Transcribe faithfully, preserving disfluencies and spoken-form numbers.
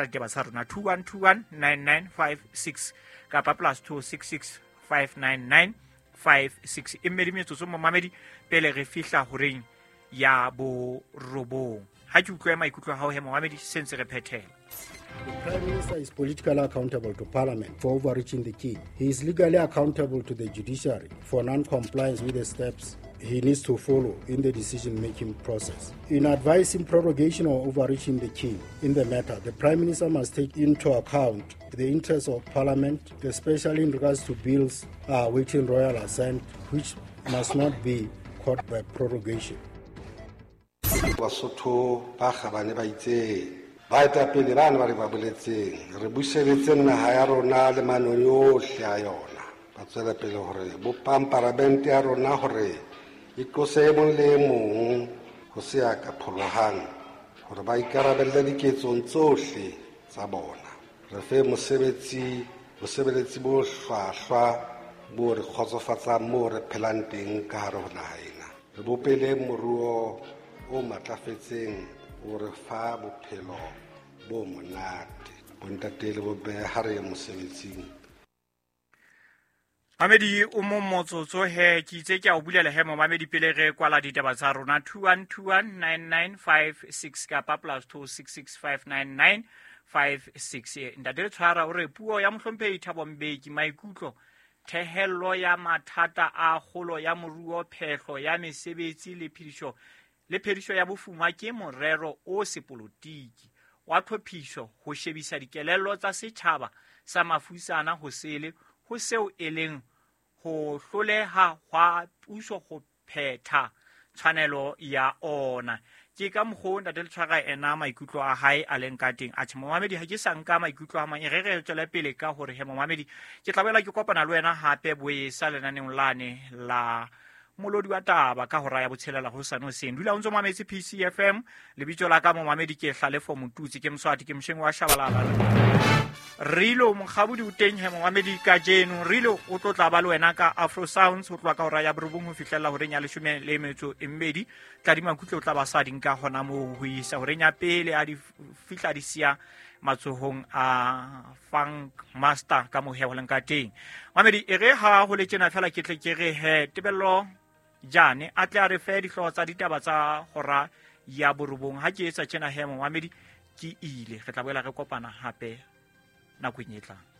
Ditaba tsa rona two one two one nine nine five six kapa plus two six six five nine nine five six. E mmedi metsotso momamedi pele re fihla horeng ya borobong. Ha ke utlwe maikutlo a hao he momamedi, se ntse re phethela. The Prime Minister is politically accountable to Parliament for overreaching the king. He is legally accountable to the judiciary for non-compliance with the steps he needs to follow in the decision-making process. In advising prorogation or overreaching the king in the matter, the Prime Minister must take into account the interests of Parliament, especially in regards to bills awaiting royal assent, which must not be caught by prorogation. Basotho ba kgabane ba itse baetapele bana ba re ba boletseng re buseletse naha ya rona le manong yohle a yona. Ba tswela pele hore bopang paramente ya rona hore e tlose e mong le e mong ho se ya ka pholohang hore ba ikarabelle diketsong tsohle tsa bona. Re fe mosebetsi bosebeletsi bo hlwahlwa bo re kgotsofatsang moo re phelang teng ka hare ho naha ena. Re bopele moruo o matlafetseng o re fa bophelo bo monate. Bontate le bomme ha re ye mosebetsing. Mamedi o mo motsotso he ke itse ke a o bulela he momamedi pele re kwala ditaba tsa rona two one two one nine nine five six kapa plus two six six five nine nine five six. Ntate le tshwara o re puo ya mohlomphehi Thabo Mbeki maikutlo thehello ya mathata a kgolo ya moruo, phehlo ya mesebetsi le phediso le phediso ya bofuma ke morero o sepolotiki wa tlhophiso ho shebisa dikelello tsa setjhaba sa mafusana ho sele ho seo e leng ho hloleha hwa puso ho phetha tshwanelo ya ona. Ke ka mokgwa o ntate le tshwara ena maikutlo a hae a leng ka teng. Atjhe momamedi, ha ke sa nka maikutlo a mang, e re re tswele pele ka hore he momamedi ke tla boela ke kopana le wena hape boesa lenaneong lane la molodi wa taba ka hora ya botshelela ho sane hoseng. Dula o ntso mametse P C F M. Lebitso la ka momamedi ke Hlalefo Motutsi, ke Moswati, ke Mosheng wa Shabalala. Rilo Mokgabudi o teng he momamedi kajeno. Rilo o tlo tla ba le wena ka Afro Sounds ho tloha ka hora ya borobong ho fihlella horeng ya leshome le metso e mmedi. Tladima Makutle o tla ba sa di nka hona moo ho isa horeng ya pele a di fihla di siya matsohong a Funk Master ka mohe ho leng ka teng. Mamedi e re ha ho le tjena fela ke tle ke re he Tebello Jane a tle a re fe dihlooho tsa ditaba tsa hora ya borobong. Ha ke etsa tjena he momamedi ke ile, re tla boela re kopana hape nakong e tlang.